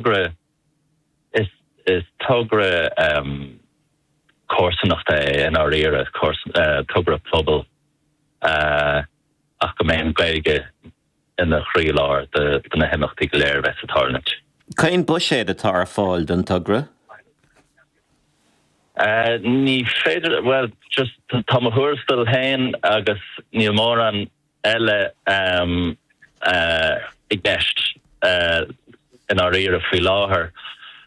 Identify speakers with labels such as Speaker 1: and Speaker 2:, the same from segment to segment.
Speaker 1: Togra, is is togra comharsanachta é i ndáiríre, togra pobail ach go mbeidh an Ghaeilge ina chroílár de na himeachtaí go léir a bheas ag tarlúint.
Speaker 2: Cén buiséad atá ar fáil don togra?
Speaker 1: Ní féidir, bhuel, just tá mo thuarastal féin agus níl mórán eile i gceist i ndáiríre faoi láthair.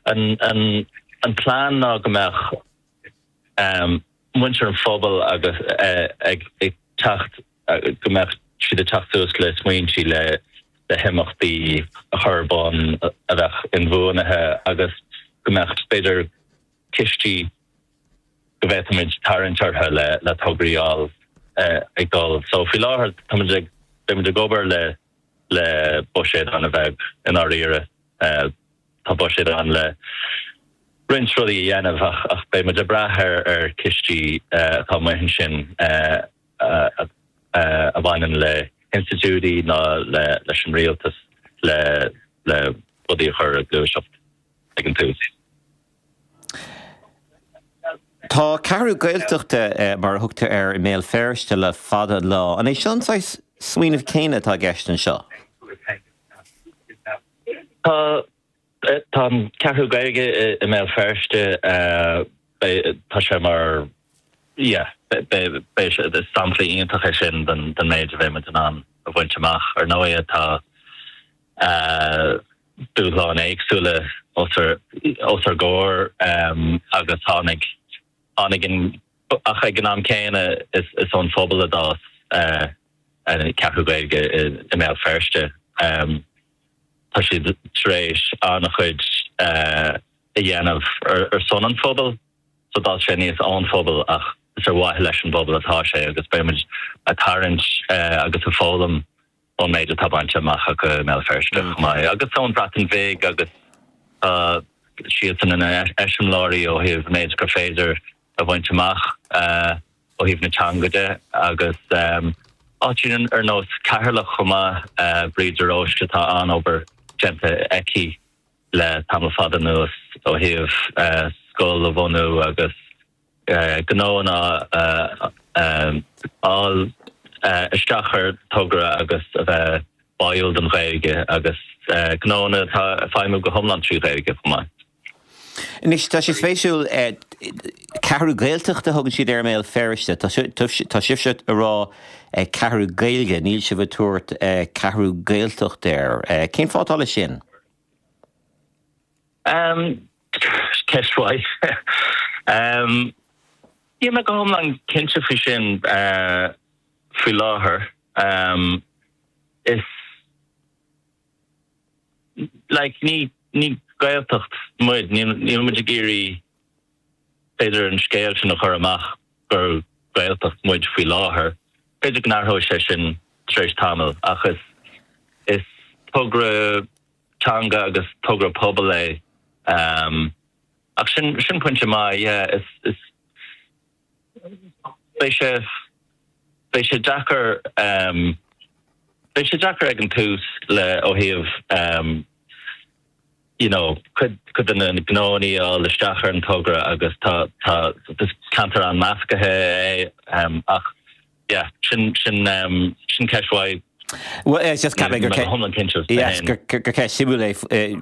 Speaker 1: An plean ná go mbeadh muintir an phobail agus ag teacht, go mbeadh siad ag teacht suas le smaointí le himeachtaí a chur ar bun a bheadh inbhuanaithe agus go mbeadh b'fhéidir cistí go bhféadfaimid tarraingt orthu le tograí a fháil ag dul. So faoi láthair táimid ag, beimid ag obair le le buiséad an-bheag i ndáiríre. Tá buiséad ann le roinnt rudaí a dhéanamh ach ach beidh muid ag brath ar ar cistí atá amuigh ansin a a bhaineann le hinstitiúidí ná le leis an rialtas le le rudaí a chur ag gluaiseacht ag an tús.
Speaker 2: Tá Ceathrú Gaeltachta, mar a thugtar air, i mBéal Feirste le fada an lá. An é seo an saghas smaoineamh céanna atá i gceist anseo?
Speaker 1: Tá. Tá an Ceathrú Gaeilge i mBéal Feirste, tá sé mar, yeah, beidh sé, is sampla iontach é sin den méid a bheidh muid in ann a bhaint amach. Ar ndóigh tá dúshláin éagsúla os ár gcomhair agus tháinig, tháinig an, ach ag an am céanna is ón phobal a d'fhás an Ceathrú Gaeilge i mBéal Feirste. Tá siad tar éis an-chuid a dhéanamh ar son an phobail so d'fhás sé aníos ón phobal ach is ar mhaithe leis an bpobal atá sé agus beidh muid ag tarraingt agus ag foghlaim ón méid atá bainte amach acu i mBéal Feirste chomh maith, agus ón Bhreatain Bhig agus tá siadsan ina n-eiseamláirí ó thaobh an méid gur féidir a bhaint amach ó thaobh na teanga de agus áiteanna ar nós Ceatharlach chomh maith, Bríd de Róiste, tá an-obair déanta aici le tamall fada anuas ó thaobh scoil a bhunú agus gnóanna a fháil isteach ar togra agus a bheith báúil don Ghaeilge agus gnóanna atá ag feidhmiú go hiomlán trí Ghaeilge chomh maith.
Speaker 2: Anois, tá sé spéisiúil, Ceathrú Gaeltachta a thugann siad air i mBéal Feirste. Tá sibhse ag rá Ceathrú Gaeilge, níl sibh ag tabhairt Ceathrú Gaeltacht air. Cén fáth atá leis sin?
Speaker 1: Ceist mhaith. Níl mé go hiomlán cinnte faoi sin faoi láthair. Is like ní ní Gaeltacht muid, níl muid ag iarraidh b'fhéidir an scéal sin a chur amach gur Gaeltacht muid faoi láthair. B'fhéidir go n-athróidh sé sin tar éis tamaill ach is is togra teanga agus togra pobail é. Ach sin, sin pointe maith, yeah, is, is, beidh sé, beidh sé deacair, beidh sé deacair ag an tús le, ó thaobh, you know, cuid, cuid de na gnóanna a fháil isteach ar an togra agus tá, tá, is ceantar an-measctha é ach, Yeah, sin, sin, sin ceist mhaith.
Speaker 2: Bhuel, just ceap mé gur gur ceist suimiúil é.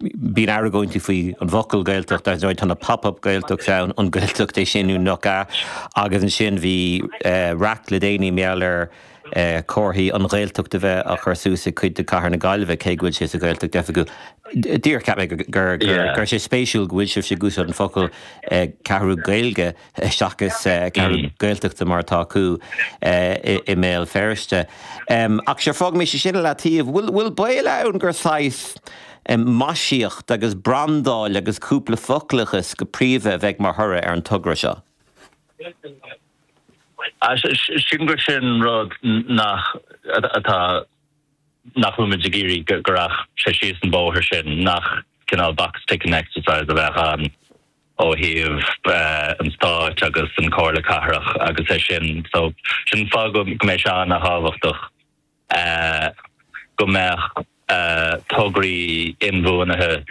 Speaker 2: Bíonn argóintí faoi an bhfocal Gaeltacht, ar ndóigh tá na pop-up Gaeltachts ann, an Gaeltacht é sin nó nach ea, agus ansin bhí raic le déanaí mar gheall ar comharthaí an Ghaeltacht a bheith á chur suas ag cuid de cathair na Gaillimhe, cé go bhfuil sé sa Ghaeltacht oifigiúil. Díreach cheap mé gur gur gur sé spéisiúil go bhfuil sibhse ag úsáid an focal Ceathrú Gaeilge seachas Ceathrú Gaeltachta mar atá acu i mBéal Feirste. Ach sure, fágaimis sin i leataobh. Bhfuil baol ann gur saghas maisíocht agus brandáil agus cúpla foclachas go príomha a bheidh mar thoradh ar an togra seo?
Speaker 1: Sílim gur sin rud nach atá nach bhfuil muid ag iarraidh go rachadh sé síos an bóthar sin, nach cineál box ticking exercise a bheadh ann. ó thaobh an stáit agus an Comhairle Cathrach agus é sin. So sin an fáth go mbeidh sé an-thábhachtach go mbeadh tograí inbhuanaithe.